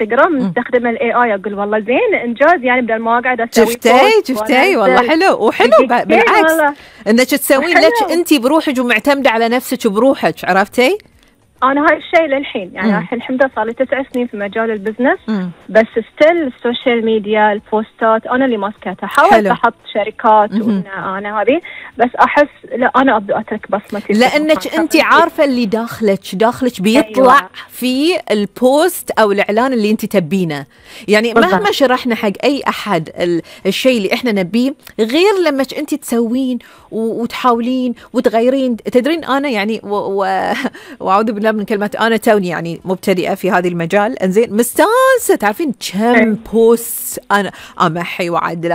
انستغرام نستخدم الاي اي. اقول والله زين انجاز يعني بدل ما اقعد اسوي شفتي والله حلو وحلو بالعكس انك تسوين لك انت بروحك ومعتمده على نفسك وبروحك. عرفتي؟ أنا هاي الشيء للحين يعني الحين ده صار لي 9 سنين في مجال البزنس. بس ستيل السوشيال ميديا البوستات أنا اللي ماسكتها. حاولت أحط شركات وأنا هذه بس أحس لا أنا أبدأ أترك بصمتي لأنك أنت عارفة اللي داخلك بيطلع أيوة. في البوست أو الإعلان اللي أنت تبينه. يعني مهما شرحنا حق أي أحد الشيء اللي إحنا نبيه غير لما أنت تسوين وتحاولين وتغيرين. تدرين أنا يعني وأعوذ بالله من كلمة أنا توني يعني مبتدئة في هذا المجال. إنزين مستانسة تعرفين كم بوست أنا أمحي وعدل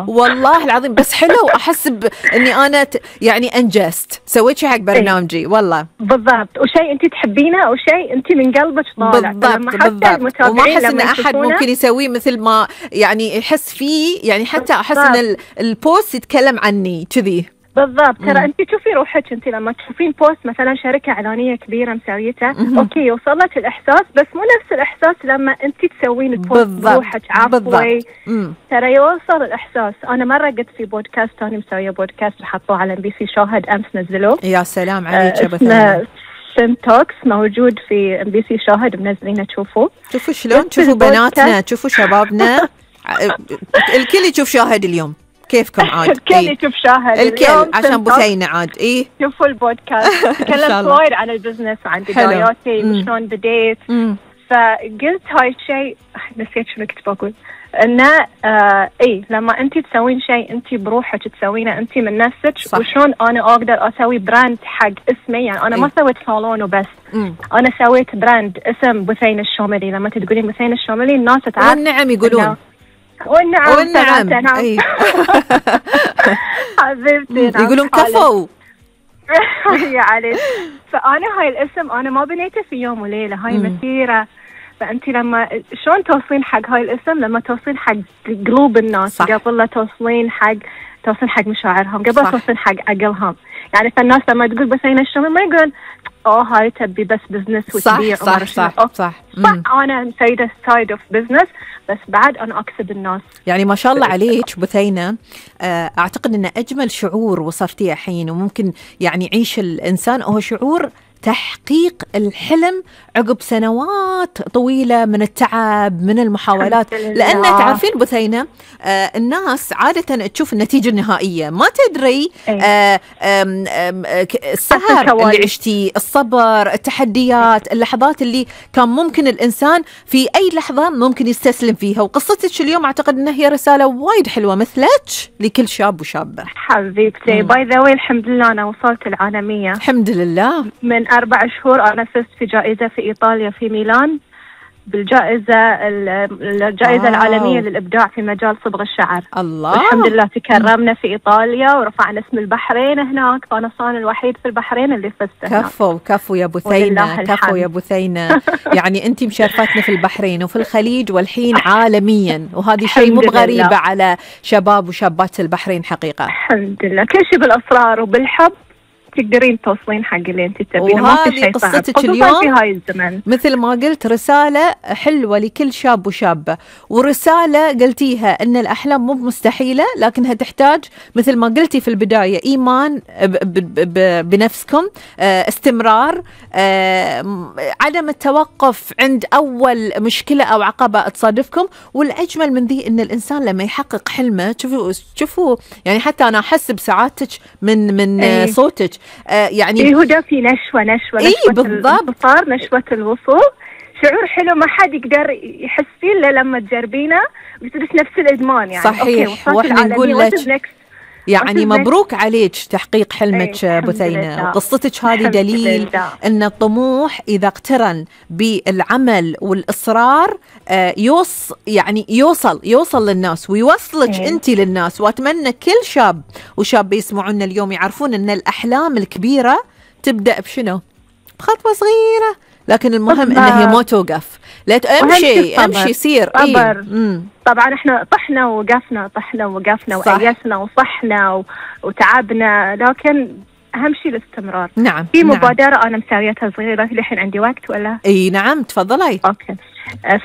والله العظيم. بس حلو أحس إني أنا يعني أنجزت سويت شيء حق برنامجي والله بالضبط. وشيء أنت تحبينه أو شيء أنت من قلبك طالع بالضبط. وما أحس إن أحد ممكن يسويه مثل ما يعني يحس فيه. يعني حتى أحس إن البوست يتكلم عني كذي بالضبط. ترى انت تشوفي روحك انت لما تشوفين بوست مثلا شركه اعلانيه كبيره مسويته اوكي يوصل لك الاحساس بس مو نفس الاحساس لما انت تسوين البوست بروحك. عفوي ترى يوصل الاحساس. انا مره قلت في بودكاست ثاني مسويه بودكاست حطوه على MBC شاهد امس نزلوه. يا سلام عليك يا بث توكس موجود في MBC شاهد منزلينه. تشوفوا شلون تشوفوا بناتنا تشوفوا شبابنا الكل يشوف شاهد اليوم. كيفكم عاد؟ الكل يشوف شاهد الكل عشان بثينة عاد. إيه شوفوا البودكاست تكلمت وايد عن البزنس وعن بداياتي وشلون بديت. فقلت هاي الشيء نسيت شنو كنت بقول إنه إيه لما أنت تسوين شيء أنت بروحك تسوينه أنت من نفسك. وشلون أنا أقدر أسوي براند حق اسمي. يعني أنا ما سويت صالون وبس. أنا سويت براند اسم بثينة الشوملي. لما تقولين بثينة الشوملي الناس تعرف. والنعم يقولون والنعم أي. حبيبتي يقولون كفو يا علي. فأنا هاي الاسم أنا ما بنيته في يوم وليلة. هاي مسيرة. فأنت لما شلون توصلين حق هاي الاسم لما توصلين حق قلوب الناس قبل لا توصلين حق مشاعرهم قبل توصلين حق عقلهم. يعني فالناس لما تقول بثينة الشوملي ما يقولون هاي تبي بس بزنس وتبيع. صح. أنا سيدة سايد اوف بزنس بس بعد أنا أكسب الناس. يعني ما شاء الله عليك بثينة. أعتقد أن أجمل شعور وصفتيه الحين وممكن يعني يعيش الإنسان هو شعور تحقيق الحلم عقب سنوات طويلة من التعب من المحاولات. لأن تعرفين بثينة الناس عادة تشوف النتيجة النهائية ما تدري السهر اللي عشتي الصبر التحديات اللحظات اللي كان ممكن الإنسان في أي لحظة ممكن يستسلم فيها. وقصتك اليوم أعتقد أنها هي رسالة وايد حلوة مثلك لكل شاب وشابة. حبيبتي باي ذا واي الحمد لله أنا وصلت العالمية الحمد لله. من 4 شهور أنا فزت في جائزة في إيطاليا في ميلان الجائزة العالمية للإبداع في مجال صبغ الشعر. الله. الحمد لله تكرمنا في إيطاليا ورفعنا اسم البحرين هناك. فأنا صار الوحيد في البحرين اللي فزت هناك. كفو يا بثينة كفو يا بثينة. يعني أنت مشرفتنا في البحرين وفي الخليج والحين عالميا. وهذه شيء مو غريبة على شباب وشابات البحرين حقيقة. الحمد لله كل شيء بالأصرار وبالحب تقدرين توصلين حق اللي انت تبينه. ما في شيء صعب قصتك اليوم في هاي الزمن. مثل ما قلت رسالة حلوة لكل شاب وشابة ورسالة قلتيها ان الأحلام مو مستحيلة لكنها تحتاج مثل ما قلتي في البداية إيمان بنفسكم استمرار عدم التوقف عند أول مشكلة أو عقبة تصادفكم. والأجمل من ذي ان الإنسان لما يحقق حلمه شوفوا يعني حتى أنا أحس بسعادتك من صوتك. يعني هو في نشوة الانتصار نشوة الوصول شعور حلو ما حد يقدر يحس فيه إلا لما تجربينه وتصير نفس الإدمان. يعني صحيح. واحنا نقول لك يعني مبروك عليك تحقيق حلمك بثينة. وقصتك هذه دليل أن الطموح إذا اقترن بالعمل والإصرار يوصل للناس ويوصلك أنت للناس. وأتمنى كل شاب وشاب يسمعونا اليوم يعرفون أن الأحلام الكبيرة تبدأ بشنو؟ بخطوة صغيرة لكن المهم أنها هي ما توقف. لا امشي سير. طبعا احنا طحنا ووقفنا وأيسنا وصحنا وتعبنا لكن أهم شيء الاستمرار. نعم. في مبادرة أنا مسويتها صغيرة، الحين عندي وقت ولا؟ اي نعم تفضلي. أوكي.